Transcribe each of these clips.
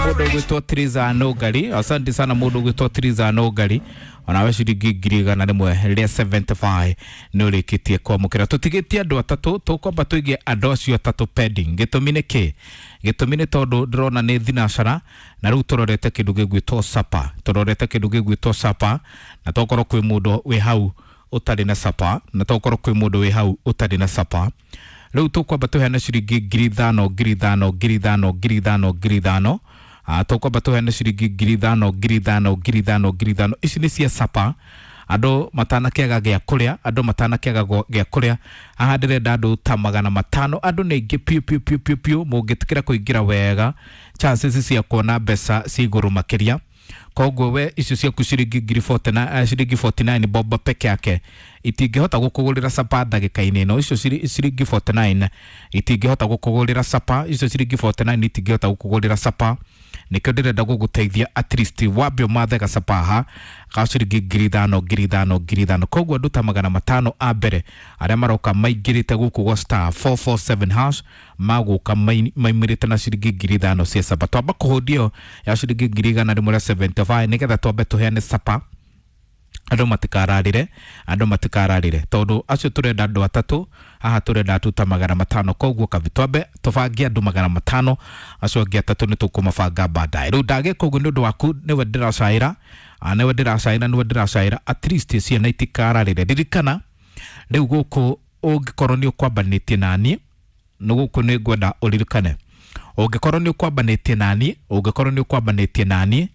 Mũndũ ũgwĩtwo Triza Nũngari, asante sana mũndũ ũgwĩtwo Triza Nũngari, onawe ciringi 175,000 nĩ ũrĩkĩtie kwamũkĩra. Tũtigĩtie andũ atatũ, tũkwamba tũigie andũ acio atatũ pending. Gĩtũmi nĩ kĩ? Gĩtũmi nĩ tondũ ndĩrona nĩ thinacara na rĩu tũrorete kĩndũ gĩgwĩtwo sapa, tũrorete kĩndũ gĩgwĩtwo sapa, na tokorwo kwĩ mũndũ wĩ hau ũtarĩ na sapa, na tokorwo kwĩ mũndũ wĩ hau ũtarĩ na sapa. Rĩu tũkwamba tũheane ciringi 5,000, 5,000, 5,000, 5,000, 5,000. Tũkwamba tũheane ciringi 5,000, 5,000, 5,000, 5,000. Ici nĩ cia sapa, andũ matanakĩaga gĩa kũrĩa, andũ matanakĩaga gĩa kũrĩa. Haha ndĩrenda andũ ta 500, andũ nĩ aingĩ piũ piũ piũ piũ piũ. Mũngĩtĩkĩra kũingĩra wega, chances cia kuona mbeca ci igũrũ makĩria. Koguo we icio ciaku ciringi ngiri 49, ciringi 49 bob peke yake itingĩhota gũkũgũrĩra sapa ndagĩka-inĩ ĩno. Icio ciringi 49 itingĩhota gũkũgũrĩra sapa, icio ciringi 49 itingĩhota gũkũgũrĩra sapa. Nĩkĩo ndĩrenda gũgũteithia at least wambe ũmathe gacapa haha ga ciringi 5,000, 5,000, 5,000. Koguo andũ ta 500 a mbere arĩa maroka maingĩrĩte gũkũ gwa star 447 hash magũka maimĩrĩte na ciringi 5,000 cia sapa. Twamba kũhũndio ya ciringi 175,000 nĩgetha twambe tũheane sapa, andũ matikararĩre, andũ matikararĩre, tondũ acio tũrenda andũ atatũ haha, tũrenda andũ ta 500. Koguo kabi twambe tũbange andũ 500, acio angĩ atatũ nĩ tũkũmabanga baadaye. Rĩu ndagĩka ũguo nĩ ũndũ waku, nĩwe ndĩracaĩra, nĩwe ndĩracaĩra, nĩwe ndĩracaĩra, at least ciana itikararĩre. Ririkana rĩu gũkũ ũngĩkorwo nĩ ũkwambanĩtie naniĩ nĩ gũkũ nĩ ngwenda ũririkane, ũngĩkorwo nĩ ũkwambanĩtie naniĩ, ũngĩkorwo nĩ ũkwambanĩtie naniĩ,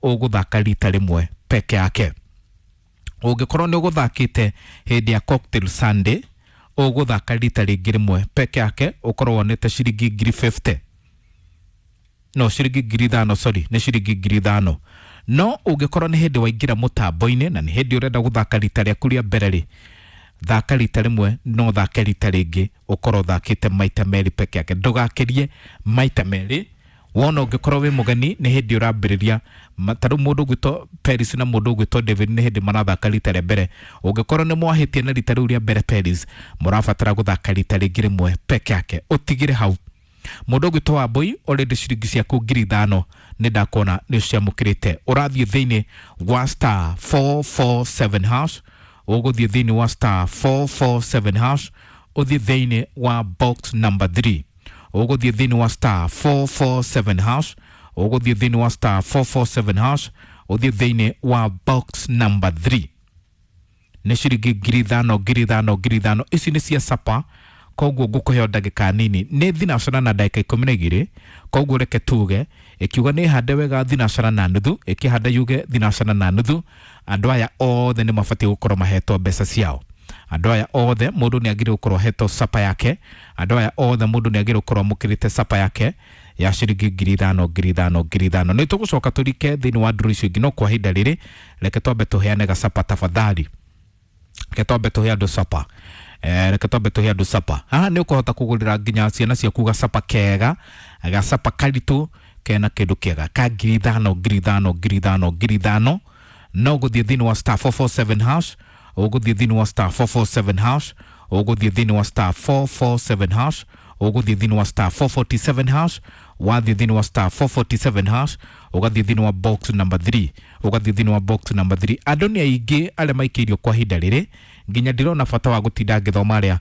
ũgũthaka rita rĩmwe peke yake. Ũngĩkorwo nĩ ũgũthakĩte hĩndĩ ya Cocktail Sunday, ũgũthaka rita rĩngĩ rĩmwe peke yake, ũkorwo wonete ciringi 50,000, no ciringi 5,000, sorry, nĩ ciringi 5,000. No ũngĩkorwo nĩ hĩndĩ waingĩra mũtambo-inĩ na nĩ hĩndĩ ũrenda gũthaka rita rĩaku rĩa mbere rĩ, thaka rita rĩmwe, no thake rita rĩngĩ, ũkorwo ũthakĩte maita merĩ peke yake, ndũgakĩrie maita merĩ. Wona ũngĩkorwo wĩ mũgeni, nĩ hĩndĩ ũrambĩrĩria, ta rĩu mũndũ ũgwĩtwo Paris na mũndũ ũgwĩtwo David nĩ hĩndĩ marathaka rita rĩa mbere. Ũngĩkorwo nĩ mwahĩtia na rita rĩu rĩa mbere Paris, mũrabatara gũthaka rita rĩngĩ rĩmwe peke yake, ũtigĩre hau. Mũndũ ũgwĩtwo Wambui, already ciringi ciaku 5,000 nĩ ndakuona nĩ ũciamũkĩrĩte. Ũrathiĩ thĩinĩ wa star 447 hash, ũgũthiĩ thĩinĩ wa star 447 hash, ũthiĩ thĩinĩ wa box number 3. Ũgũthiĩ thĩinĩ wa star 447 hash, ũgũthiĩ thĩinĩ wa star 447 hash, ũthiĩ thĩinĩ wa box number 3. Nĩ ciringi 5,000, 5,000, 5,000. Ici nĩ cia sapa. Koguo ngũkũheo ndagĩka nini, nĩ thinacara na ndagĩka 12. Koguo reke tuge ĩkiuga nĩ hande wega thinacara na nuthu, ĩkĩhanda yuge thinacara na nuthu, andũ aya othe nĩ mabatiĩ gũkorwo mahetwo mbeca ciao. Andũ aya othe mũndũ nĩ agĩrĩirwo gũkorwo ahetwo sapa yake. Andũ aya othe mũndũ nĩ agĩrĩirwo gũkorwo amũkĩrĩte sapa yake ya ciringi 5,000, 5,000, 5,000. Nĩ tũgũcoka tũrike thĩinĩ wa ndũrũ icio ingĩ, no kwa ihinda rĩrĩ reke twambe tũheane gacapa tafadhali. Reke twambe tũhe andũ sapa. Reke twambe tũhe andũ sapa. Haha nĩ ũkũhota kũgũrĩra nginya ciana ciaku gacapa kega, gacapa karitũ kena kĩndũ kĩega ka 5,000, 5,000, 5,000, 5,000. No gũthiĩ thĩinĩ wa star 447 hash, ũgũthiĩ thĩinĩ wa star 447 hash, ũgũthiĩ thĩinĩ wa star 447 hash, ũgũthiĩ thĩinĩ wa star 447 hash. Wathiĩ thĩinĩ wa star 447 hash, ũgathiĩ thĩinĩ wa box number 3, ũgathiĩ thĩinĩ wa box number 3. Andũ nĩ aingĩ arĩa maikĩirio kwa ihinda rĩrĩ, nginya ndirona bata wa gũtinda ngĩthoma arĩa.